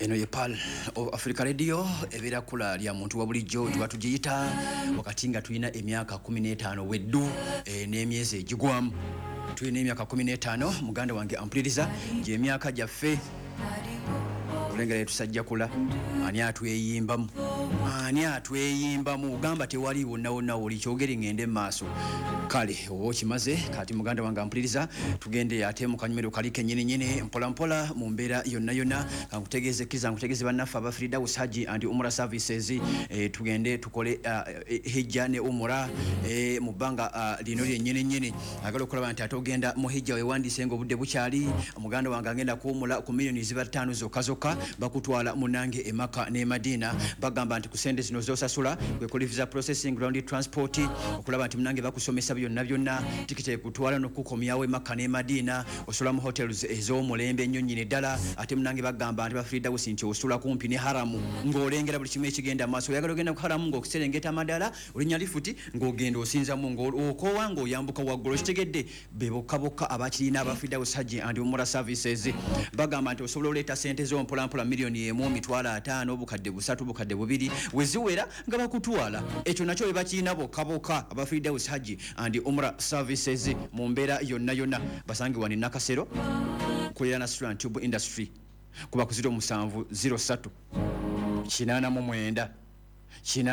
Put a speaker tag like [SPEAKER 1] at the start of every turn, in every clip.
[SPEAKER 1] Eno ye Pal of Africa Radio, ebeera kula lya muntu wa bulijjo tuba tugiyita wakati nga tulina emyaka 15 weddu n'emyezi egigwamu. Tulina emyaka 15, muganda wange ampuliriza, gyemyaka gyaffe olengera yetusajjakula. Ani atweyimbamu? Ani atweyimbamu? Gamba tewali wonna wonna woli kyogere ngende mu maaso. Kale oba okimaze. Kati muganda wange ampuliriza, tugende ate mu kanyumiro kali kenyini nyini, mpola mpola mu mbeera yonna yonna. Kankutegeeze, kkiriza nkutegeeze bannaffe aba Firdaus Haji and Umra Services. Tugende tukole hijja ne umura mu bbanga lino lyennyini nyini. Agala okulaba nti ate ogenda mu hijja, wewandiise nga obudde bukyali. Muganda wange agenda kuwumula ku miliyoni ziba 5 zokka zokka, bakutwala munange e Maka ne Madina. Bagamba nti ku sente zino zosasula kwe kuli visa processing, ground transport, okulaba nti munange bakusomesa byonna byonna, tikiti ekutwala n'okukomyawo e Maka ne Madina, osula mu hotels ez'omulembe ennyo nnyini ddala. Ate munange bagamba nti ba Firdaus nti osula kumpi ne haramu ng'olengera buli kimu ekigenda maaso. Oyagala ogenda ku haramu ng'okuserengeta amadala, olinnya lifuti ng'ogenda osinzamu, ng'okoowa ng'oyambuka waggulu. Okitegedde? Be bokka bokka abakirina, aba Firdaus Hajji and Umura Services. Bagamba nti osobola oleeta sente zo mpolampola, 1 million, 50,000, 300,000, 2,000, weziwera nga bakutwala. Ekyo nakyo be bakirina bokka bokka, aba Firdaus Hajji and Umra Services. Mu mbeera yonna yonna basangibwa ne Nakasero kulira na Sulan Tube Industry, kuba ku 07 03 89 8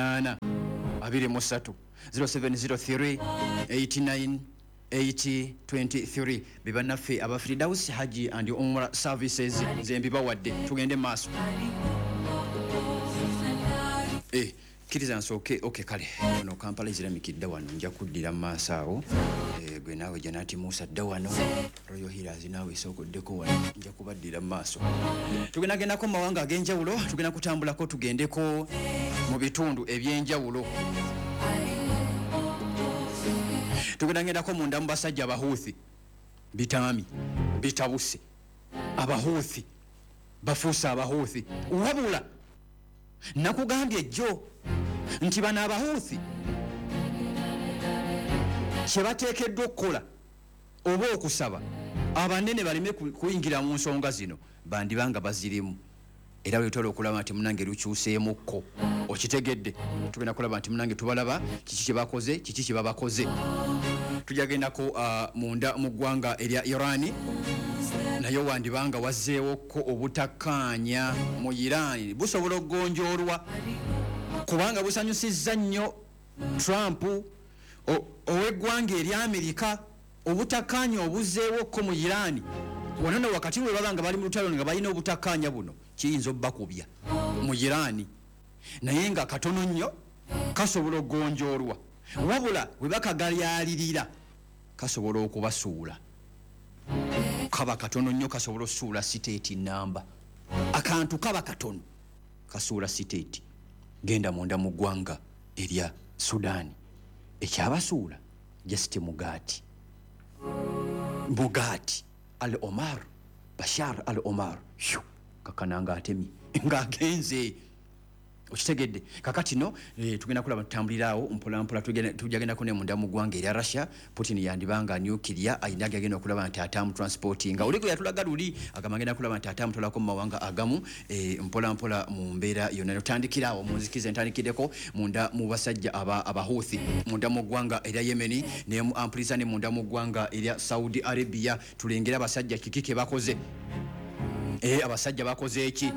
[SPEAKER 1] 23, 0703 89 8023. Be bannaffe aba Firdaus Haji and Umra Services. Nze mbibawadde, tugende mu maaso. Kkiriza nsooke. Ok, kale ono Kampala Islamic dda wano, nja kuddira mu maaso awo. Gwe naawe Janati Musa dda wano, Royal Healers naawe esookoddeko wano, nja kubaddira mu maaso. Tugendagendako mu mawanga ag'enjawulo, tugenda kutambulako tugendeko mu bitundu ebyenjawulo. Tugendagendako munda mu basajja Abahuuthi. Bitaami bitabuse, Abahuuthi bafuuse Abahuuthi. Wabula nakugambye ejjo nti bano Abahuuthi kyebateekeddwa okukola oba okusaba abanene baleme kuyingira mu nsonga zino, bandibanga bazirimu. Era lwetwala okulaba nti munange lukyuseemukko. Okitegedde? Tugenda kulaba nti munange tubalaba kiki kyebakoze, kiki kyebabakoze. Tujagendako munda mu ggwanga erya Irani, naye wandibanga wazzeewokko obutakkaanya mu Irani. Busobola okugonjoolwa kubanga busanyusizza nnyo Trump ow'eggwanga erya Amerika. Obutakkaanya obuzzeewokko mu Irani wano no wakati we baba nga bali mu lutalo nga balina obutakkaanya buno, kiyinza obbakubya mu Irani, naye nga katono nnyo kasobola okugonjoolwa. Wabula bwe bakagalyalirira kasobola okubasuula. Kaba katono nnyo kasobola osuula state namba. Akantu kaba katono kasuula state. Genda munda mu ggwanga erya Sudaani, ekyabasuula just mugaati, mugaati. Al Omar, Bashar Al Omar Hyu, kakana nga atemye ng'agenze. Okitegedde? Kakati no tugenda kulaba tutambuliraawo mpolampola. Tujagendako ne munda mu ggwanga erya Russia. Putin yandibanga nuclear ayina gagenda okulaba nti atamu transportinga. Oli gwe yatulaga luli agamba agenda kulaba nti atamutolako mu mawanga agamu mpolampola mu mbeera yonna. Tutandikiraawo munzikize, ntandikiddeko munda mu basajja Abahuthi munda mu ggwanga erya Yemeni ne mu ampuliza ne munda mu ggwanga erya Saudi Arabia. Tulengere abasajja kiki ke bakoze. Abasajja bakoze eki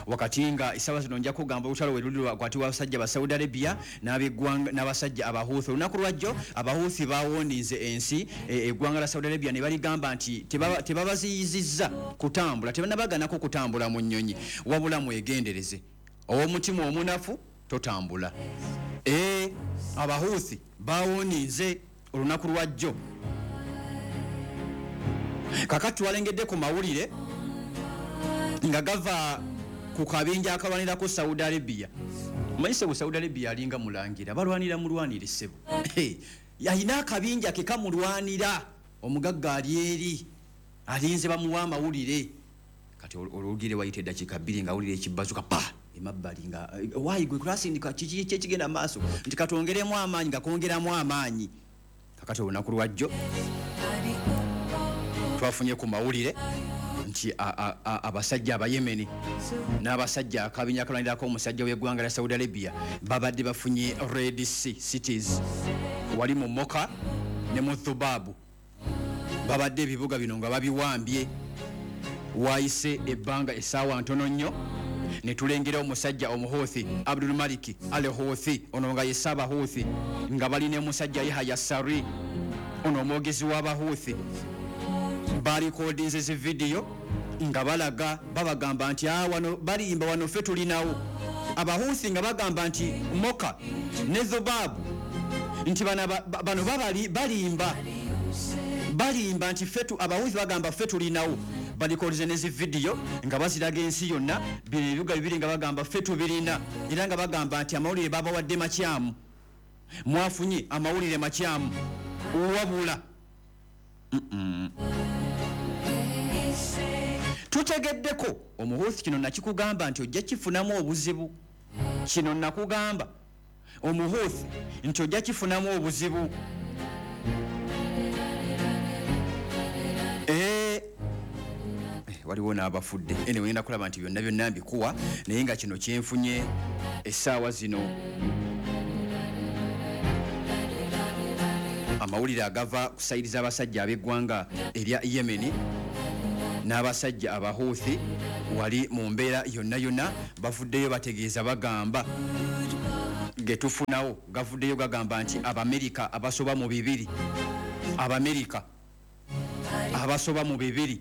[SPEAKER 1] wakati nga essaawa zino nja kugamba olutalo we luli wakati w'abasajja ba Saudi Arabia n'abasajja Abahuthi. Olunaku lwajjo Abahuthi bawoninze ensi eggwanga la Saudi Arabia ne baligamba nti tebabaziyizizza kutambula, tebanabaganako kutambula mu nnyonyi, wabula mwegendereze, ow'omutima omunafu totambula. Abahuthi bawoninze olunaku lwajjo. Kakati twalengedde ku mawulire nga gava ku kabinja akalwanirako Saudi Arabia. Manyi sebo, Saudi Arabia alinga mulangira, balwanira mulwanire sebo. Alina akabinja ke kamulwanira. Omugagga ali eri alinze bamuwa amawulire. Kati olwogere wayita eddakiika 2 nga awulira ekibazuka pa emabbali nga waayi gwe kulasindika kiki kyekigenda maaso, nti katwongeremu amaanyi, nga kwongeramu amaanyi. Kakati olunaku lwajjo twafunye ku mawulire nti Nti abasajja Abayemeni n'abasajja akabinja akalwanirako omusajja w'eggwanga lya Saudi Arabia babadde bafunye Red Sea cities wali mu Moka ne mu Thubabu. Babadde ebibuga bino nga babiwambye. Wayise ebbanga essaawa ntono nnyo ne tulengera omusajja Omuhuthi Abdul Maliki Al Huthi, ono nga ye Ssaabahuthi, nga balina omusajja Yahaya Sari, ono omwogezi w'Abahuthi. Balikodinze zi vidiyo nga balaga, babagamba nti wano balimba, wano ffe tulinawo. Abahuthi nga bagamba nti Moka ne Dhubabu, nti bano balimba, balimba, nti ffe Abahuthi bagamba ffe tulinawo. Balikodinze ne zi vidiyo nga baziraga ensi yonna, bino ebibuga bibiri nga bagamba ffe tubirina, era nga bagamba nti amawulire babawadde makyamu, mwafunye amawulire makyamu. Wabula tutegeddeko Omuhuthi, kino nakikugamba nti ojja kifunamu obuzibu. Kino nakugamba Omuhuthi nti ojja kifunamu obuzibu. Waliwo n'abafudde. Anyway, ngenda kulaba nti byonna byonna mbikuwa, naye nga kino kyenfunye essaawa zino, amawulire agava ku sayidi z'abasajja ab'eggwanga erya Yemeni n'abasajja Abahuthi wali mu mbeera yonna yonna bavuddeyo bategeeza, bagamba getufunawo gavuddeyo gagamba nti Abamerika abasoba mu 200, Abamerika abasoba mu 200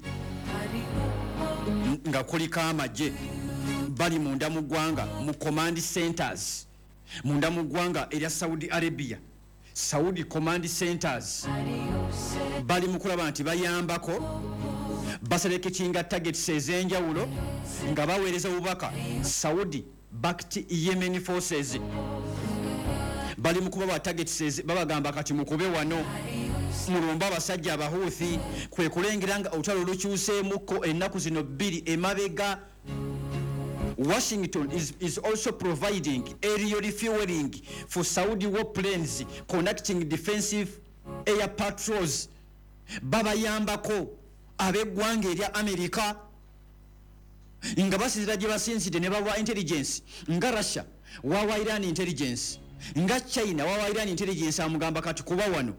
[SPEAKER 1] nga kuliko amagye bali munda mu ggwanga mu command centers munda mu ggwanga erya Saudi Arabia, Saudi command centers, bali mu kulaba nti bayambako basereketinga targets ez'enjawulo nga baweereza obubaka. Saudi backed Yemeni forces bali mu kubawa targets, babagamba kati mukube wano, mulumba abasajja Abahuthi. Kwe kulengera nga olutalo lukyuseemukko ennaku zino 2 emabega. Washington is also providing aerial refueling for Saudi warplanes conducting defensive air patrols. Babayambako ab'eggwanga erya Amerika nga basinzira gye basinzidde ne bawa intelligence, nga Russia wawa Iran intelligence, nga China wawa Iran intelligence, amugamba kati kuba wano.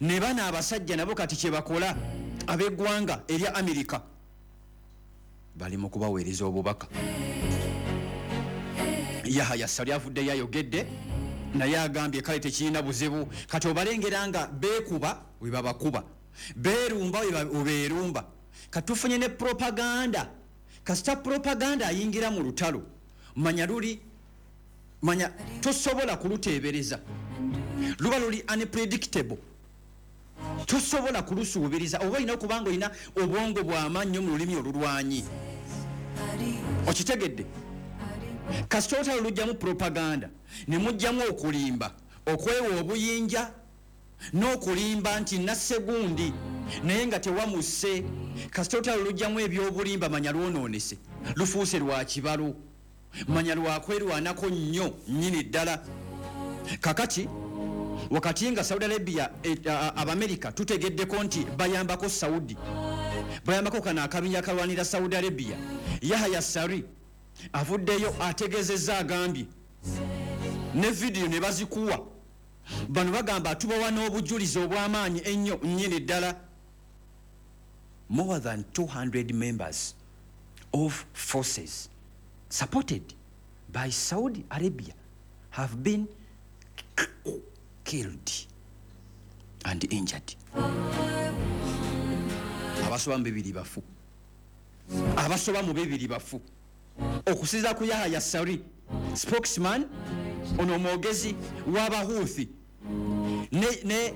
[SPEAKER 1] Ne bano abasajja nabo kati kye bakola ab'eggwanga erya Amerika bali mu kubaweereza obubaka. Yahaya Sari avuddeyo ayogedde, naye agambye kale tekirina buzibu. Kati obalengera nga beekuba we babakuba, beerumba we beerumba. Kati tufunye ne propaganda. Kasita propaganda ayingira mu lutalo, manya luli, manya tosobola kuluteebereza, luba luli unpredictable, tosobola kulusuubiriza. Oba olina okuba nga olina obwongo bw'amannyo mu lulimi olulwanyi, okitegedde? Kasita olutalo lujjamu propaganda ne mujjamu okulimba, okwewa obuyinja n'okulimba nti nassegundi naye nga tewamusse. Kasita olutalo lujjamu ebyobulimba, manya lwonoonese, lufuuse lwa kibalo, manya lwakwerwanako nnyo nnyini ddala. Kakati wakati nga Saudi Arabia, Abamerika tutegeddeko nti bayambako Saudi, bayambako kano akabinja akalwanira Saudi Arabia, Yahaya Sari avuddeyo ategeezezza, agambye ne vidiyo ne bazikuwa. Bano bagamba tubawa n'obujulizi obw'amaanyi ennyo nnyini ddala. More than 200 members of forces supported by Saudi Arabia have been killed and injured. Abasoba mu 2 bafu, abasoba mu 2 bafu. Okusinziira ku Yahaya Sari spokesman, ono omwogezi w'Abahuthi, ne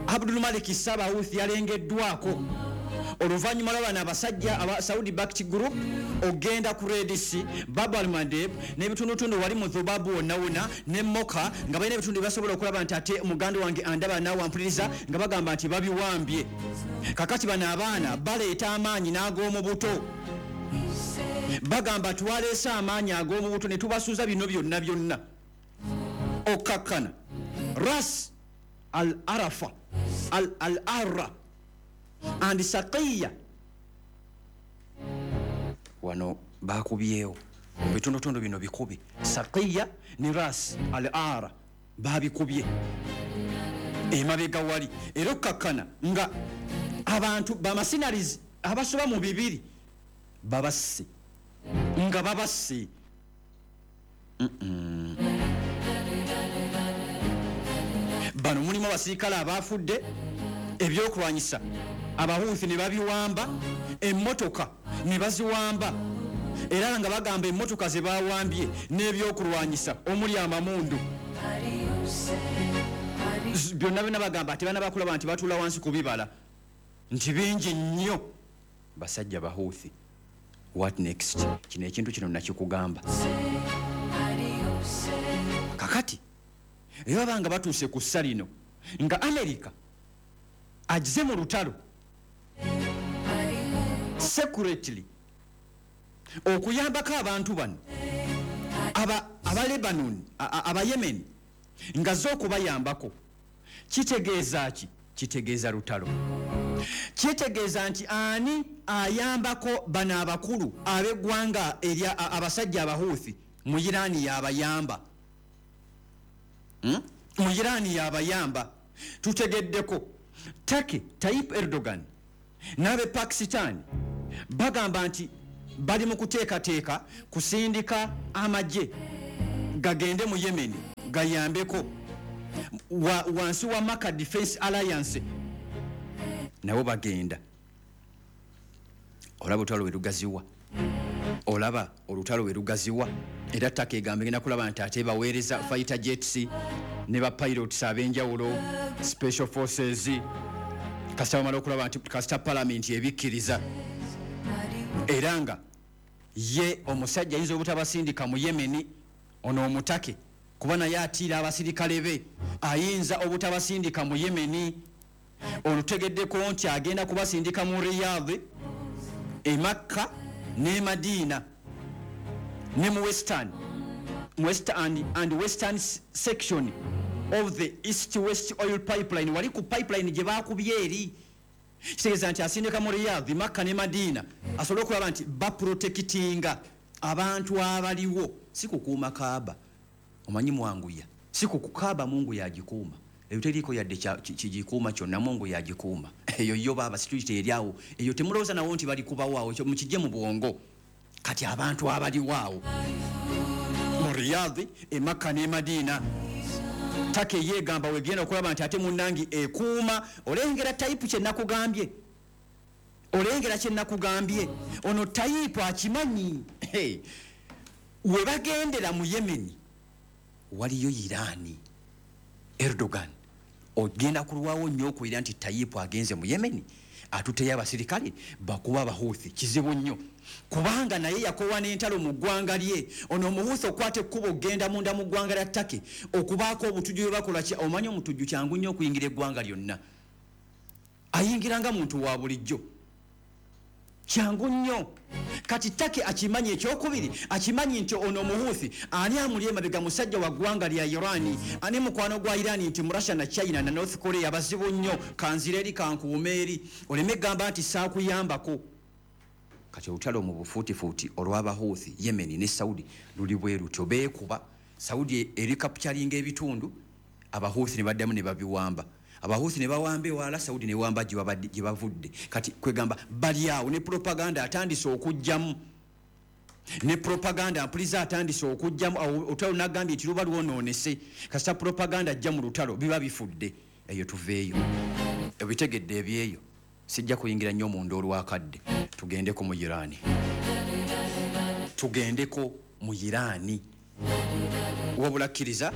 [SPEAKER 1] Abdul Malik Ssabahuthi yalengeddwako oluvannyuma lw'abano abasajja aba Saudi backed group ogenda ku Red Sea, Bab al Mandeb n'ebitundutundu wali mu Dhubabu wonna wonna ne Moka, nga balina ebitundu bye basobola okulaba nti ate muganda wange andaba naawe ampuliriza, nga bagamba nti babiwambye. Kakati bano abaana baleeta amaanyi n'ag'omu buto, bagamba twaleese amaanyi ag'omu buto ne tubasuuza bino byonna byonna. Okkakkana Ras Al Arafa Al Arra and Saqiya. Wano bakubyewo mu bitundutundu bino bikubi Saqiya ne Ras Al Ara babikubye emabega wali, era okkakkana nga abantu bamasinarizi abasoba mu 2 babasse, nga babasse. Bano mulimu abasirikale abafudde, ebyokulwanyisa abahuthi ne babiwamba, emmotoka ne baziwamba, era nga bagamba emmotoka ze bawambye n'ebyokulwanyisa omuli amamundu byonna byonna bagamba ate bana bakulaba nti batuula wansi ku bibala nti bingi nnyo. Basajja bahuthi, what next? Kino ekintu kino nakikugamba. Kakati era banga batuuse ku ssa lino nga America agize mu lutalo secretly okuyambako abantu bano aba Lebanon, aba Yemen, nga zo okubayambako. Kitegeeza ki? Kitegeeza lutalo. Kitegeeza nti ani ayambako bano abakulu ab'eggwanga erya abasajja abahuthi mu Irani yabayamba. Mu Irani yabayamba. Tutegeddeko Turkey, Tayyip Erdogan n'abe Pakistan bagamba nti bali mu kuteekateeka kusindika amagye gagende mu Yemen gayambeko wansi wa Maka Defense Alliance, nabo bagenda. Olaba olutalo we lugaziwa, olaba olutalo we lugaziwa. Era Turkey egamba egenda kulaba nti ate baweereza fighter jets ne ba pilots ab'enjawulo, special forces, kasita bamala okulaba nti kasita parliament ebikkiriza. Era nga ye omusajja ayinza obutabasindika mu Yemen, ono omutake kuba naye atiira abasirikale be, ayinza obutabasindika mu Yemen. Olutegeddeko nti agenda kubasindika mu Riyadh, e Makka ne Madina ne mu Western, West and Western section of the East West oil pipeline. Wali ku pipeline gye bakubye eri, kitegeeza nti asindika mu Riyadh, Makka ne Madina asobole okulaba nti baprotectinga abantu abaliwo. Si kukuuma Kaaba, omanyi mwanguya, si kukaaba Mungu yagikuuma, eyo teriiko yadde kigikuuma kyonna, Mungu yagikuuma eyo yo baaba security eri awo, eyo temulowooza nawo nti bali kubawo awo, mukijje mu bwongo. Kati abantu abaliwo awo mu Riyadh, e Makka ne Madina, Turkey yeegamba wegenda okulaba nti ate munnangi ekuuma. Olengera Tayipu kye nakugambye, olengera kye nakugambye, ono Tayipu akimanyi. We bagendera mu Yemen waliyo Irani. Erdogan ogenda kulwawo nnyo okuwulira nti Tayipu agenze mu Yemen atuteyo abasirikale bakuba abahuthi. Kizibu nnyo kubanga naye yakowa n'entalo mu ggwanga lye. Ono omuhuthi okwata ekkubo okgenda munda mu ggwanga lya Turkey okubaako obutujju bwe bakola. Omanyi omutujju kyangu nnyo okuyingira eggwanga lyonna, ayingira nga muntu wa bulijjo, kyangu nnyo. Kati Turkey akimanyi. Ekyokubiri akimanyi nti ono omuhuthi ani amuli emabega musajja wa ggwanga lya Irani, ani mukwano gwa Irani, nti mu Russia na China na North Korea bazibu nnyo, kanzira eri kankuuma eri, oleme gamba nti saakuyambako. Kati olutalo mu bufuutifuuti olw'abahuthi Yemen ne Saudi luli bwe lutyo, beekuba. Saudi eri capturinga ebitundu, abahuthi ne baddamu ne babiwamba, abahuthi ne bawamba ewala, Saudi ne wamba gye bavudde. Kati kwegamba bali awo ne propaganda atandise okujjamu, ne propaganda mpuliza atandise okujjamu. Olutalo nagambye nti luba lwonoonese, kasita propaganda ajja mu lutalo biba bifudde. Eyo tuveeyo, ebitegedde ebyeyo, sijja kuyingira nnyo munda olwakadde. Tugendeko mu Irani, tugendeko mu Irani. Wabula kkiriza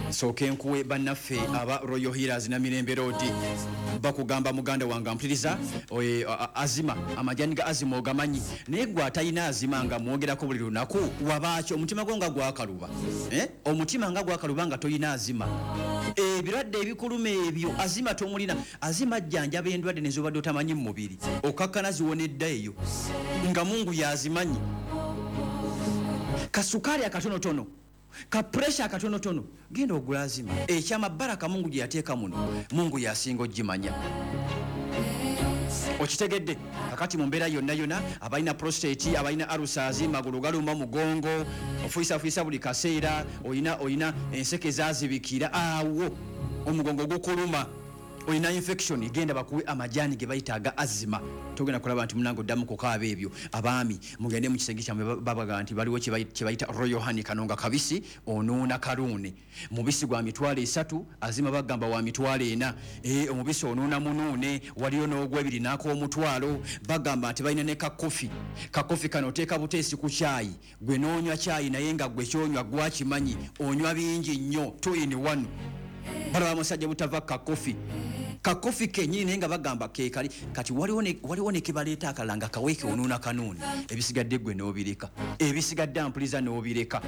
[SPEAKER 1] nsooke nkuwe bannaffe aba Royal Healers na Mirembe Road. Bakugamba muganda wange ampuliriza, azima, amajani ga azima ogamanyi, naye gwe atalina azima nga mwogerako buli lunaku wabaaki? Omutima gwo nga gwakaluba, omutima nga gwakaluba nga tolina azima. Ebirwadde ebikuluma ebyo azima tomulina. Azima ajjanjaba endwadde nezobadde otamanyi mu mubiri, okakkana ziwonedda eyo nga Mungu yazimanyi. Kasukaali akatonotono, ka pressure akatonotono, genda ogula azima. Ekyama baraka Mungu gye yateeka muno, Mungu yasinga ogimanya. Okitegedde? Kakati mu mbeera yonna yonna, abalina prostate, abalina ulcers, magulu galuma, mugongo ofuyisafuyisa buli kaseera, olina enseke zazibikira awo, omugongo gukuluma, olina infection, genda bakuwe amajaani ge bayita aga azima. Togenda kulaba nti munange oddamu kukaaba ebyo. Abaami mugende mu kisenge kyammwe, babaga nti baliwo kye bayita Royal Honey. Kano nga kabisi onuuna kaluune, mubisi gwa 30,000, azima bagamba wa 40,000. Omubisi onuuna munuune, waliyo n'ogwebiri n'ak'omutwalo. Bagamba nti balina ne kakofi. Kakofi kano oteeka buteesi ku kyayi, gwe n'onywa kyayi, naye nga gwe kyonywa gwakimanyi, onywa bingi nnyo, 2 in 1. Balaba musajja butava kakofi, kakofi kenyini, naye nga bagamba kekali. Kati waliwo ne kebaleeta akalala nga kaweeke onuuna kanuuni, ebisigadde gwe n'obireka, ebisigadde ampuliza n'obireka.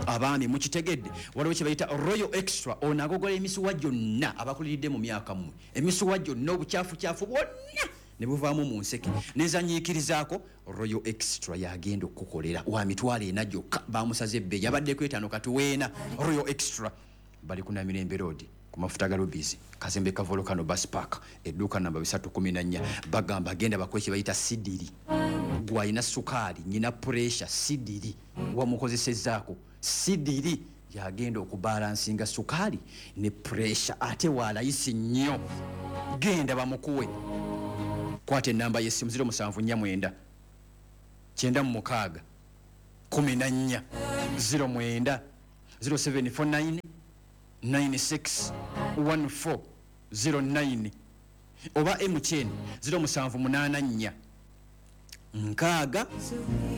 [SPEAKER 1] Abaami mukitegedde? Waliwo kye bayita Royal Extra. Ono agogola emisuwa gyonna, abakuliridde mu myaka mmwe, emisuwa gyonna, obukyafucyafu bwonna ne buvaamu mu nseke nezanyiikirizaako. Royal Extra yagenda okukukolera wa 40,000 gyokka, bamusaze ebbeeyi, yabaddeko 5, kati weena. Royal Extra bali ku Namirembe Road, ku mafuta ga Rubizi, kazembe ka Volcano Bus Park, edduuka namba 314. Bagamba genda bakuwe kye bayita sidiri. Gwalina sukaali, nyina pressure, sidiri wamukozesezzaako? Sidiri yagenda okubalansinga sukaali ne pressure, ate walayisi nnyo. Genda bamukuwe. Kwata enamba y'essimu 0749 96 14 09, 0749 96 14 09, oba MTN 0784 6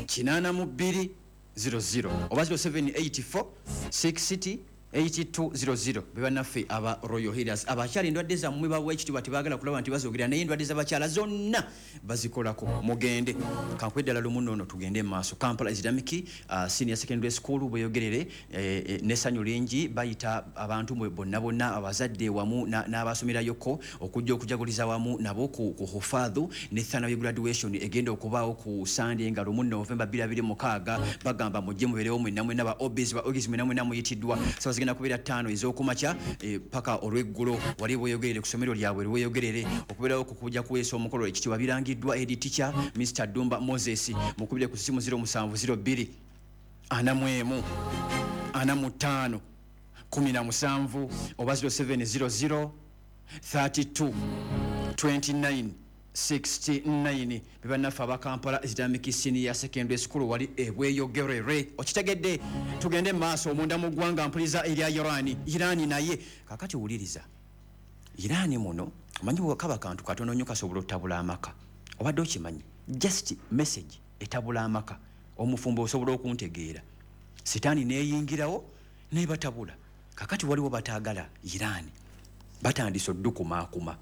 [SPEAKER 1] 82 00 oba 0784 60 8200. Bebannaffe aba Royal Healers. Abakyala, endwadde zammwe bawa ekitiibwa, tebaagala kulaba nti bazoogera, naye endwadde z'abakyala zonna bazikolako. Mugende kankwe ddala lumu noono. Tugende mu maaso. Kampala Islamic Senior Secondary School bweyogerere n'essanyu lingi bayita abantu mwe bonna bonna, abazadde wamu n'abasomerayoko, okujja okujaguliza wamu nabo ku hufadhu ne thanawi graduation egenda okubaawo ku Sande nga 1 Novemba 2026. Bagamba mujje mubeerewo mwenna mwenna, ba OBs, ba OGs, mwenna mwenna muyitiddwa. Sawa zigenda kubeera 5 ez'okumakya paka olweggulo wali bweyogerere ku ssomero lyabwe lweyogerere. Okubeerawo ku kujja kuweesa omukolo ekitiibwa birangiddwa head teacher Mr Dumba Moses. Mukubire ku simu 0702 41 45 17 oba 0700 32 29 69. Bebannaffe aba Kampala Islamic Senior Secondary School wali ebweyogerere. Okitegedde? Tugende mu maaso omunda mu ggwanga. Mpuliza erya Irani. Irani naye kakati wuliriza, Irani muno omanyi kaba kantu katono nnyo kasobola otutabula amaka. Obadde okimanyi? Just message etabula amaka. Omufumbo osobola okuntegeera, sitaani neyingirawo nebatabula. Kakati waliwo bataagala Irani, batandise oddukumaakuma.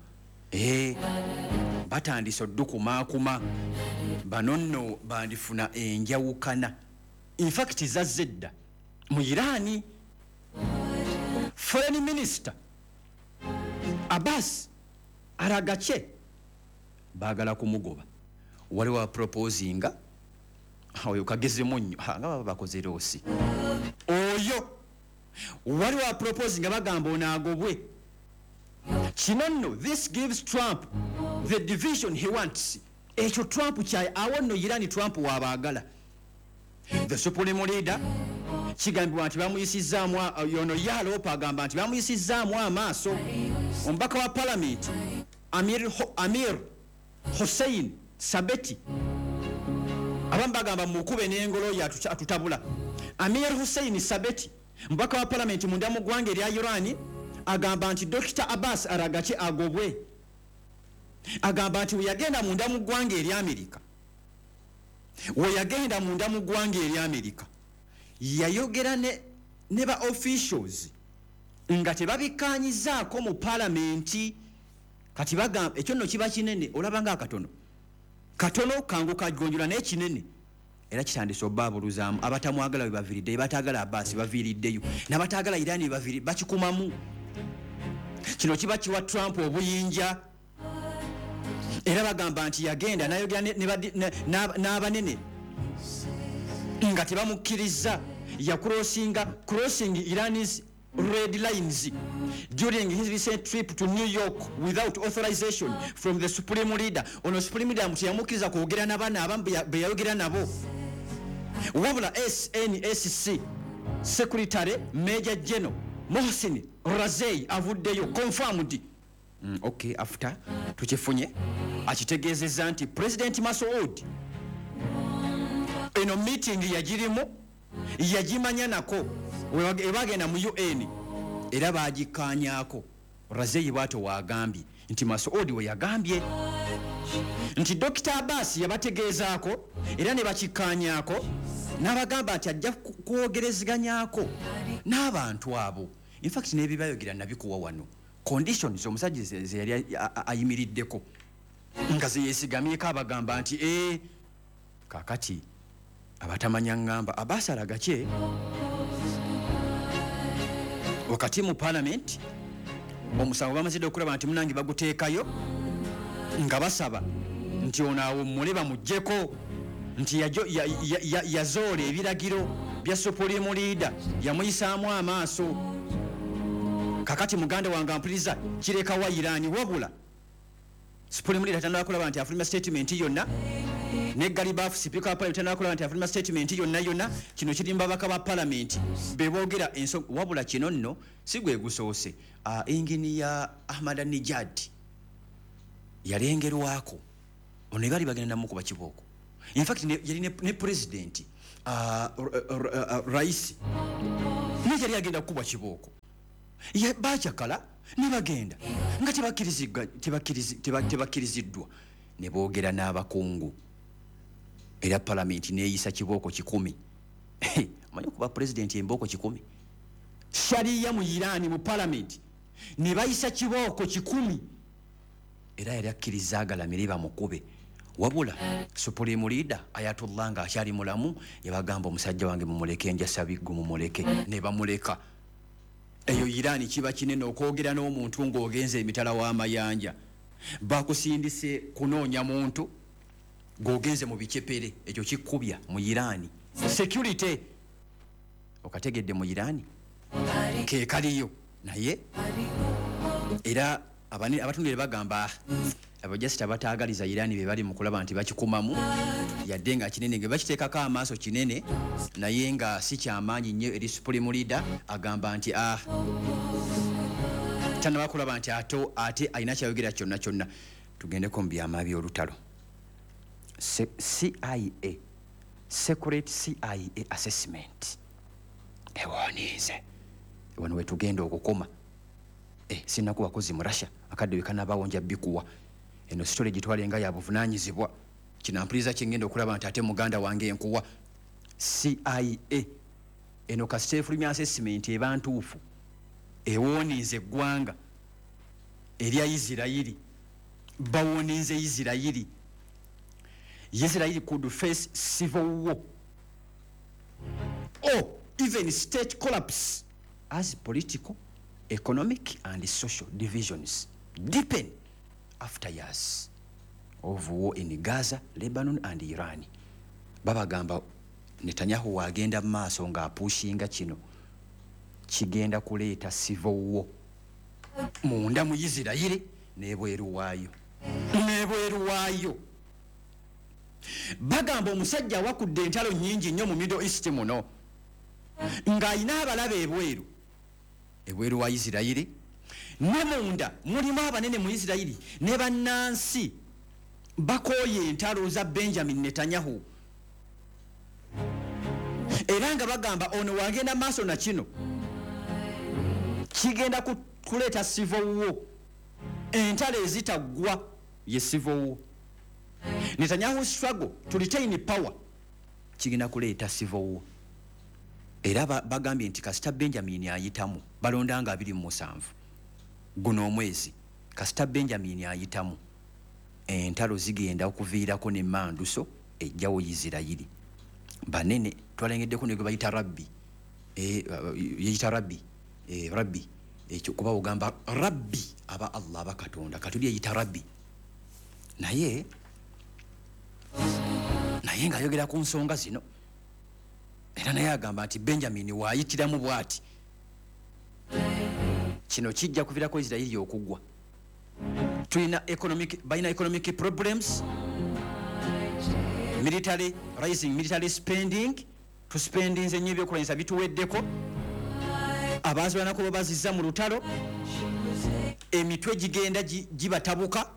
[SPEAKER 1] Batandise oddukumaakuma. Bano nno bandifuna enjawukana, infact zazze dda mu Irani. Foreign Minister Abbas Araghchi baagala kumugoba. Waliwo aproposinga oyo kagezemu nnyo. Ha, nga baba bakoze loss oyo. Waliwo aproposinga, bagamba ono agobwe. Kino nno, this gives Trump the division he wants. Ekyo Trump kya awo nno Irani, Trump wabaagala. The supreme leader kigambibwa nti bamuyisizaamu, yono ye aloopa, agamba nti bamuyisizaamu amaaso. Omubaka wa palamenti Amir Hossein Sabeti, abamu bagamba mukube n'engolo ye atutabula. Amir Hussein Sabeti, mubaka wa palamenti munda mu ggwanga erya Iran, agamba nti Dr Abbas Araghchi agobwe. Agamba nti weyagenda munda mu ggwanga erya Amerika, weyagenda munda mu ggwanga erya Amerika, yayogera ne ba officials nga tebabikkanyizaako mu palamenti. Kati bagamba ekyo nno kiba kinene, olaba nga akatono katono kangu kagonjola, naye kinene era kitandise obaabuluzaamu. Abatamwagala we baviiriddeyo, bataagala Abaasi baviiriddeyo, n'abataagala Irani baviri bakikumamu. Kino kiba kiwa Trump obuyinja. Era bagamba nti yagenda nayogera n'abanene nga tebamukkiriza. Yacrossinga, crossing Iran's red lines during his recent trip to New York without authorization from the supreme leader. Ono supreme leader teyamukkiriza kwogera n'abaana abamu be yayogera nabo. Wabula SNSC secretary Major General Mohsin Razei avuddeyo confirmed. Okay, after tukifunye akitegeezezza nti President Masoud eno meeting yagirimu, yagimanya nako ebagenda mu UN era bagikkaanyaako. Razei bw'atyo waagambye nti Masoud we yagambye nti Dr Abbas yabategeezaako era ne bakikkaanyaako, n'abagamba nti ajja kwogerezeganyako n'abantu abo. Infact n'ebibayogera nabikuwa wano, conditions omusajja ze yali ayimiriddeko nga zeyesigamyeko, abagamba nti kakati abatamanya ŋŋamba Abbas alagakye wakati mu parliament. Omusango bamazidde okulaba nti munange baguteekayo nga basaba nti ono awummule bamuggyeko, nti yazoola ebiragiro bya supreme leader, yamuyisaamu amaaso. Kakati muganda wange ampuliriza, kirekawa Irani? Wabula supreme leader tandika kulaba nti afulumya statement yonna, ne Ghalibaf sipiika wa parliament tandika kulaba nti afulumya statement yonna yonna. Kino kiri mu babaka ba parliament be boogera ensonga. Wabula kino nno si gwe gusoose. Engineer Ahmadinejad yalengerwako, ono baali bagenda namukuba kibooko. Infact yali ne president Raisi naye yali agenda kukubwa kibooko. Bakyakala ne bagenda nga tebakkiriziddwa ne boogera n'abakungu, era palamenti neeyisa kibooko 100. Omanyi okuba pulezidenti embooko 100? Shariya mu Irani, mu palamenti ne bayisa kibooko 100, era yali akkiriza agalamire bamukube. Wabula supreme leader Ayatollah nga akyali mulamu yabagamba, "Omusajja wange mumuleke, njasabiggu, mumuleke," ne bamuleka. Eyo Irani kiba kinene okwogera n'omuntu ng'ogenza emitala w'amayanja, bakusindise kunoonya muntu ng'ogenze mu bicepere, ekyo kikkubya mu Irani. Security okategedde mu Irani ke kaliyo, naye era abatundire bagamba abajasita abataagaliza Irani be bali mu kulaba nti bakikumamu, yadde nga kinene nga bakiteekako amaaso kinene, naye nga si kyamaanyi nnyo eri supreme leader. Agamba nti tanaba kulaba nti ate alina kyayogera kyonna kyonna. Tugendeko mu byama by'olutalo. CIA, secret CIA assessment ewoniize wano wetugenda okukoma. Sinakuwa kozi mu Russia akadde wekanabaawo nja bikuwa. Eno story gitwale nga ya buvunanyizibwa. Kinampuliriza kyengenda okulaba nti ate muganda wange enkuwa CIA eno kasita efulumya assessment eba ntuufu, ewoninze eggwanga erya Isirayiri. Bawoninze Isirayiri. Isirayiri could face civil war or even state collapse as political, economic and social divisions deepen after years of war in Gaza, Lebanon and Iran. Babagamba Netanyahu wagenda mu maaso ng'apushinga kino, kigenda kuleeta civil war munda mu Isirayiri n'ebweru waayo, n'ebweru waayo. Bagamba omusajja awakudde entalo nnyingi nnyo mu Middle East muno, ng'alina abalabe ebweru, ebweru wa Isirayiri, ne munda mulimu abanene mu Isirayiri ne bannansi bakooye entalo za Benjamin Netanyahu, era nga bagamba ono wagenda maaso na kino kigenda kuleeta civil war, entalo ezitaggwa ye civil war. Netanyahu struggle to retain power kigenda kuleeta civil war. Era bagambye nti kasita Benjamin ayitamu, balonda nga 27 guno omwezi, kasita Benjamin ayitamu entalo zigenda okuviirako n'emmanduso ejjawo Isirayiri. Banene twalengeddeko ne gwe bayita rabbi, yeyita rabbi, rabbi ekyo kuba ogamba rabbi aba Allah, aba Katonda, katuli yeyita rabbi, naye ng'ayogera ku nsonga zino, era naye agamba nti Benjamin waayitiramu bw'ati. Kino kijja kuviirako Isirairi okugwa. Tulina economic, balina economic problems, military, rising military spending. Tuspendinze nnyo, ebyokulwanyisa bituweddeko, abazirwanako babazizza mu lutalo, emitwe gigenda gibatabuka.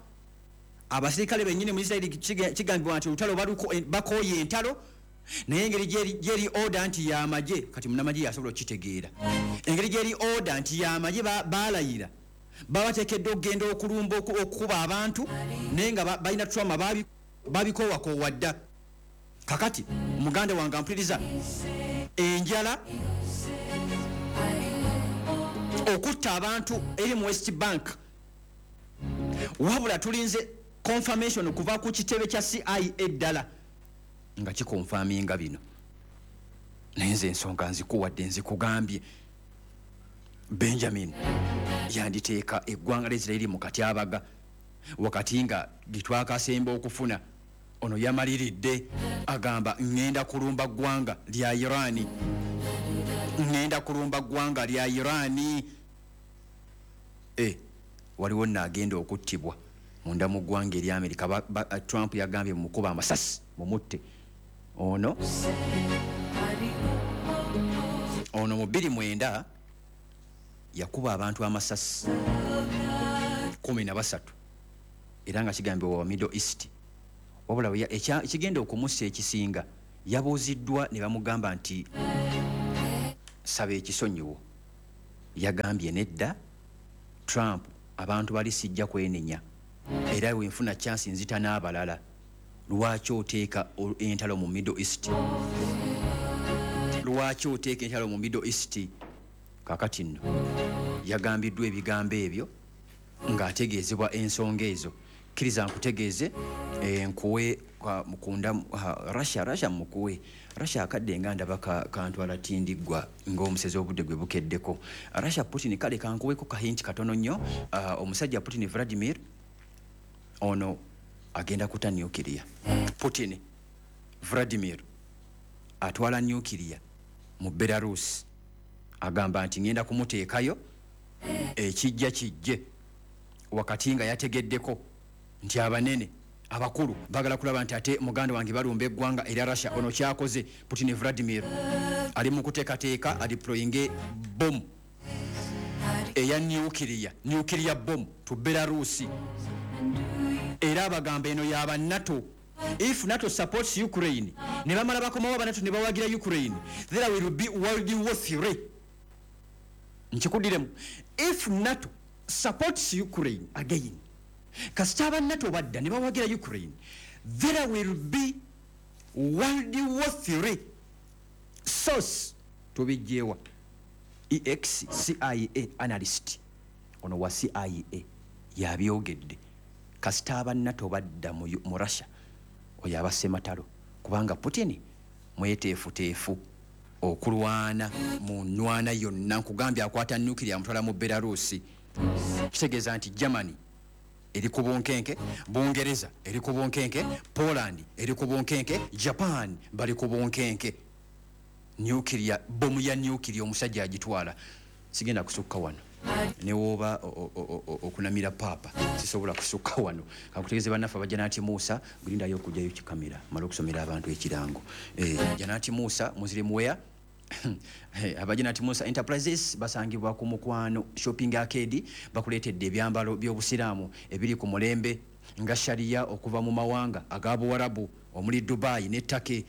[SPEAKER 1] Abasirikale bennyini mu Isirairi kigambibwa nti olutalo bakooye entalo, naye engeri gyeri order nti yamagye, kati munamagye yasobola okukitegeera, engeri gyeri order nti yamagye, balayira babateekeddwa okugenda okulumba, okukuba abantu, naye nga balina trauma, babikoowakoowa dda. Kakati muganda wange ampuliriza, enjala, okutta abantu eri mu West Bank. Wabula tulinze confirmation okuva ku kitebe kya CIA eddala nga kiconfirminga bino, naye nze ensonga nzikuwadde, nzikugambye. Benjamin yanditeeka eggwanga lya Isirairi mu katyabaga wakati nga getwakasemba okufuna. Ono yamaliridde, agamba, "Ŋŋenda kulumba ggwanga lya Irani, ŋŋenda kulumba ggwanga lya Irani." Waliwo nno agenda okuttibwa munda mu ggwanga erya Amerika. Trump yagambye mumukuba amasasi mumutte. Ono mu 2009 yakuba abantu amasasi 13, era nga kigambibwa wa Middle East. Wabula ekigenda okumussa ekisinga, yabuuziddwa ne bamugamba nti, "Saba ekisonyiwo." Yagambye, "Nedda Trump, abantu bali sijja kwenenya, era wenfuna chance nzita n'abalala. Lwaki oteeka entalo mu Middle East? Lwaki oteeka entalo mu Middle East?" Kakati nno yagambiddwa ebigambo ebyo ng'ategeezebwa ensonga ezo. Kkiriza nkutegeeze, nkuwe mukunda Russia. Russia mukuwe Russia akadde nga ndaba kantwala tindiggwa ng'omusezi, obudde gwe bukeddeko. Russia, Putin, kale kankuweko kahinti katono nnyo. Omusajja Putin Vladimir ono agenda kuta nuclear. Putin Vladimir atwala nuclear mu Belarus, agamba nti, "Ngenda kumuteekayo, ekijja kijje," wakati nga yategeddeko nti abanene abakulu bagala kulaba nti ate muganda wange balumba eggwanga erya Russia. Ono kyakoze, Putin Vladimir ali mu kuteekateeka adeployinge bomu eya nuclear, nuclear bomb to Belarus. Era abagamba eno yaba NATO. If NATO supports Ukraine, ne bamala bakomawo aba NATO ne bawagira Ukraine, there will be World War 3. Nkikuddiremu, if NATO supports Ukraine again, kasita aba NATO badda ne bawagira Ukraine, there will be World War 3. Source tubijjewa? Ex CIA analyst, ono wa CIA yabyogedde. Kasita aba NATO badda mu Russia, oyo aba sematalo, kubanga Putin mweteefuteefu okulwana mu nwana yonna. Nkugambye, akwata nuclear amutwala mu Belarusi. Kitegeeza nti Germany eri ku bunkenke, Bungereza eri ku bunkenke, Poland eri ku bunkenke, Japan bali ku bunkenke. Nuclear, bomu ya nuclear omusajja agitwala. Sigenda kusukka wano, newooba okunamira paapa, sisobola kusukka wano. Kakutegeeze bannaffe aba Janati Musa, gulindayo okugjayo kikamera male okusomera abantu ekirango. Janati Musa Muslim Wear. Aba Janati Musa Enterprises basangibwa ku Mukwano Shopping Arcade. Bakuleetedde ebyambalo by'obusiraamu ebiri ku mulembe nga sharia, okuva mu mawanga aga Buwarabu omuli Dubai ne Turkey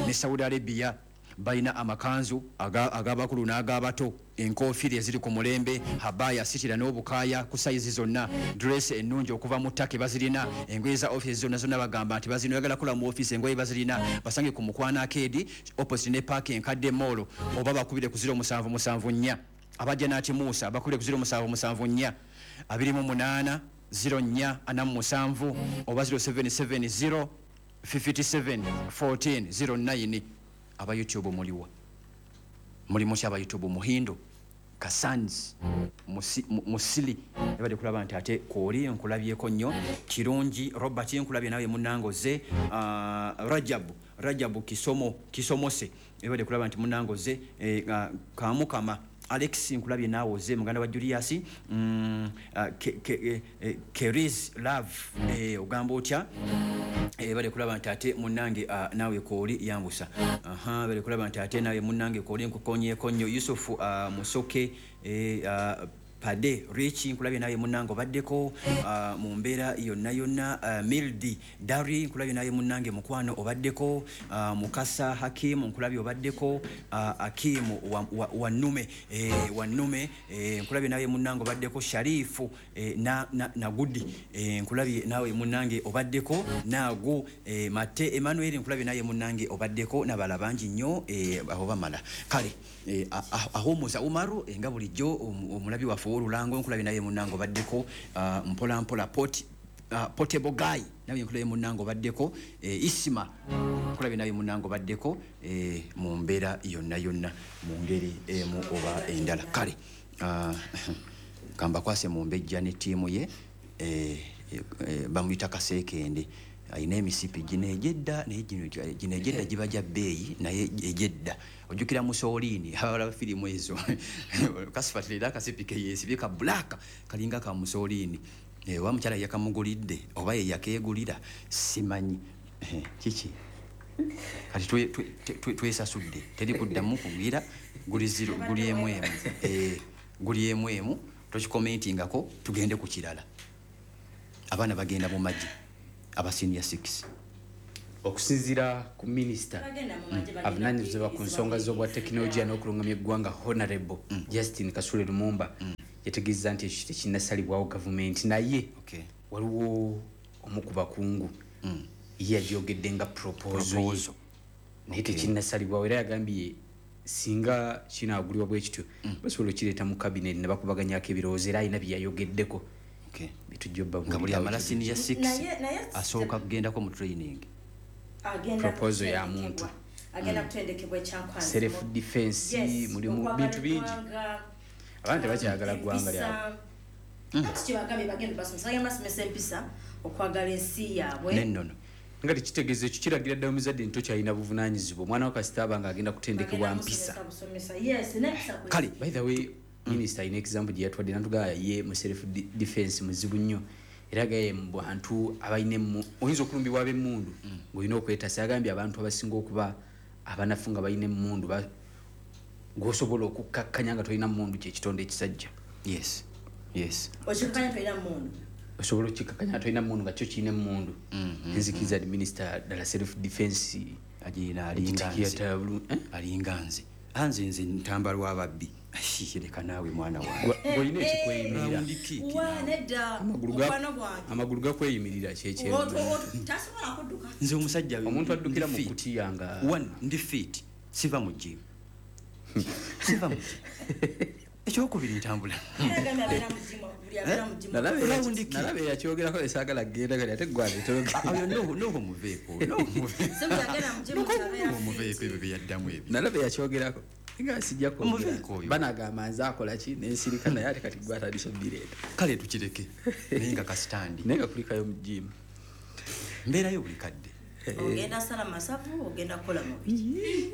[SPEAKER 1] ne Saudi Arabia. Balina amakanzu ag'abakulu n'ag'abato, enkofiira eziri ku mulembe, habaya, sitira n'obukaaya ku sayizi zonna, dress ennungi okuva mu Turkey bazirina, engoye za office zonna zonna bagamba nti bazirina. Oyagala kola mu office, engoye bazirina. Basange ku Mukwano Arcade, opposite ne Park enkadde mall, oba bakubire ku 0774. Abajja nati Musa bakubire ku 0774 28 04 47 oba 0770 57 14 09. Aba YouTube muliwa? Mulimu ki aba YouTube? Muhindo Kasans Musili, ebadde kulaba nti ate kwoli nkulabyeko nnyo kirungi. Robert, nkulabye nawe munangoze. Rajabu Kisomo Kisomose, ebadde kulaba nti munangoze. Kamukama Alex nkulabye naawe oze, muganda wa Julius. Keris Love, ogamba otya? Bale kulaba nti ate munnange, naawe kooli yambusa. Aha, bale kulaba nti ate naawe munnange kooli, nkukonyeeko nnyo. Yusufu Musoke, Pade Rich, nkulabye naye munnange obaddeko mu mbeera yonna yonna. Mildi Dari, nkulabye naye munnange mukwano obaddeko. Mukasa Hakimu, nkulabye obaddeko. Akimu Wannume, Wannume, nkulabye naye munnange obaddeko. Sharifu Nagudi, nkulabye nawe munnange obaddeko. Naagu Mate Emmanuel, nkulabye naye munnange obaddeko, n'abalala bangi nnyo. Abo bamala. Kale Ahumuza Umaru, nga bulijjo omulabi waffe ow'olulango, nkulabye naye munnange obaddeko. Mpola mpola Portable Guy, nawe nkulabye munnange obaddeko. Isima, nkulabye naye munnange obaddeko, mu mbeera yonna yonna, mu ngeri emu oba endala. Kale kambakwase mu mbejja ne ttiimu ye. Bamuyita Kaseekende, alina emisipi gino egyedda, naye gino egyedda giba gya bbeeyi, naye egyedda ojjukira Musooliini, abalaba firimu ezo, kasifatirera akasipi ke yeesibye ka black kalinga ka Musooliini. Oba mukyala yakamugulidde oba ye yakeegulira simanyi. Kiki kati twesasudde, teri kuddamu kugwira, guli zero, guli emu emu. Guli emu emu, tokikomentingako, tugende ku kirala. Abaana bagenda mu magye aba senior 6.
[SPEAKER 2] Okusinziira ku minisita
[SPEAKER 3] Bagenda mu magye, bagenda
[SPEAKER 2] avunaanyizibwa ku nsonga z'obwa tekinologiya n'okulungamya eggwanga, Honorable Justin Kasule Lumumba, yategeeza nti ekyo tekinnasalibwawo gavumenti, naye waliwo omu ku bakungu ye yagyogedde nga proposal ye.
[SPEAKER 1] Proposal.
[SPEAKER 2] Naye tekinnasalibwawo, era yagambye singa kinaagulibwa bwe kityo basobola okukireeta mu cabinet ne bakubaganyako ebirowoozo, era alina bye yayogeddeko bitujja
[SPEAKER 1] Nga buli amala senior 6
[SPEAKER 3] Naye
[SPEAKER 1] asooka kugendako mu training.
[SPEAKER 3] Agenda
[SPEAKER 2] Proposal ya
[SPEAKER 3] kutendekebwa.
[SPEAKER 2] muntu.
[SPEAKER 3] Agenda kutendekebwa ekyankwanzi.
[SPEAKER 2] Self defense,
[SPEAKER 3] Yes,
[SPEAKER 2] mulimu
[SPEAKER 3] okwagala
[SPEAKER 2] bintu bingi.
[SPEAKER 3] eggwanga,
[SPEAKER 2] Abantu tebakyagala ggwanga lyabwe.
[SPEAKER 3] Empisa. Kati kyebagambye bagenda basomesa, bagenda basomesa empisa, okwagala ensi yaabwe.
[SPEAKER 1] N'ennono.
[SPEAKER 2] Nga tekitegeeza ekyo kiragira ddala omuzadde nti tokyalina buvunaanyizibwa, omwana wo kasita aba nga agenda kutendekebwa
[SPEAKER 3] Bagenda
[SPEAKER 2] mpisa.
[SPEAKER 3] musomesa busomesa. Yes, n'empisa
[SPEAKER 1] Kale.
[SPEAKER 2] By the way, minisita alina example gye yatwadde natugamba ye mu self defense muzibu nnyo, era gaye mu bantu abalina oyinza okulumbibwa ab'emmundu ng'olina okwetasa. Yagambye abantu abasinga okuba abanafu nga balina emmundu gw'osobola okukkakkanya nga tolina mmundu kyekitonde ekisajja.
[SPEAKER 1] Yes.
[SPEAKER 3] Okikakkanya tolina mmundu.
[SPEAKER 2] Osobola okukkakkanya nga tolina mmundu nga kyo kirina emmundu. Nzikiriza ni minisita ddala self defense
[SPEAKER 1] Agirina, alinga
[SPEAKER 2] egitikira
[SPEAKER 1] nze.
[SPEAKER 2] ddala bulungi, eh?
[SPEAKER 1] Alinga nze. Anze nze ntamba lw'ababbi. Leka naawe mwana wange.
[SPEAKER 2] Gw'olina ekikweyimirira.
[SPEAKER 1] Round kick.
[SPEAKER 3] Wa, nedda.
[SPEAKER 2] Amagulu
[SPEAKER 3] Mukwano gwange.
[SPEAKER 2] Amagulu gakweyimirira kyekye.
[SPEAKER 3] Tasobola kudduka.
[SPEAKER 1] Nze omusajja
[SPEAKER 2] Omuntu addukira
[SPEAKER 1] ndi
[SPEAKER 2] mu
[SPEAKER 1] fit.
[SPEAKER 2] kutiya nga
[SPEAKER 1] One, ndi fit, siva mu gym, siva mu gym. Ekyokubiri, ntambula.
[SPEAKER 3] Era agambye abeera mu gym, buli abeera mu gym.
[SPEAKER 2] Nalaba
[SPEAKER 1] Round kick.
[SPEAKER 2] Nalaba eyakyogerako esaagala kugenda kati ate gwe aleetera
[SPEAKER 1] Ah, oyo noho muveeko, noho muveeko.
[SPEAKER 3] Si buli agenda mu gym nti abeera
[SPEAKER 1] Noho muveeko
[SPEAKER 3] fit.
[SPEAKER 1] ebyo byeyaddamu ebyo.
[SPEAKER 2] Nalaba eyakyogerako nga sijja kwogera.
[SPEAKER 1] Omuveeko oyo.
[SPEAKER 2] Banagamba nze akola ki nensirika, naye ate kati gwe atandise obireeta.
[SPEAKER 1] Kale tukireke, naye nga kasitandi.
[SPEAKER 2] Naye nga kulikayo mu gym.
[SPEAKER 1] Mbeerayo buli kadde.
[SPEAKER 3] Ogenda sala masavu, ogenda kukola mubiri.